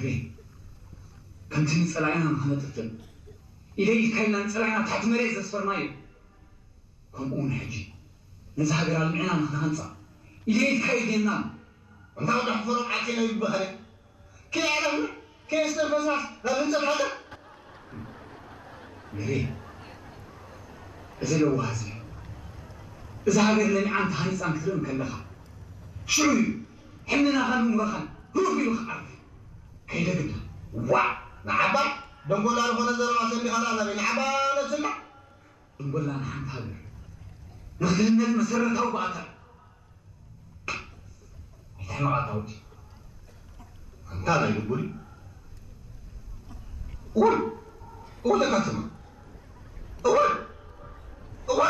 ሪ ከምቲ ንጸላኢና ንኸነጥፍእ ኢደይ ኢድካ ኢልና ንጸላኢና ትሕቲ መሬት ዘስፈርናዮ፣ ከምኡ እውን ሕጂ ነዚ ሃገር ኣልሚዕና ንኽንሃንጻ ኢደይ ኢድካ ኢድና። እንታ ወዳሕ ፈረቕ ዓጺና ይበሃል። ከየዕለምና ከየስተንፈስናስ ናብ ህንጸት ሃገር። ንሪ እዚ ለዋህ እዚ፣ እዛ ሃገር ለሚዓን ተሃኒጻን ክትርኢ እንከለኻ፣ ሽዑ እዩ ሕልናኻን እምሮኻን ህውፍ ኢሉ ክዓርፍ። ከይደግምና። ዋእ! ንዓባ ደንጎላ ዝኾነ ዘረባ ሰሚኻና ናበይ ንዓባ ነብስና? ደንጎላ ንሓንቲ ሃገር ንኽትህነጽ መሰረታዊ ባእታ እዩ። ኣይትሕመቕ ኣታ ወዲ። ኣንታ ናይ ልቡሊ። እወ፣ እወ ለካትማ። እወ፣ እወ።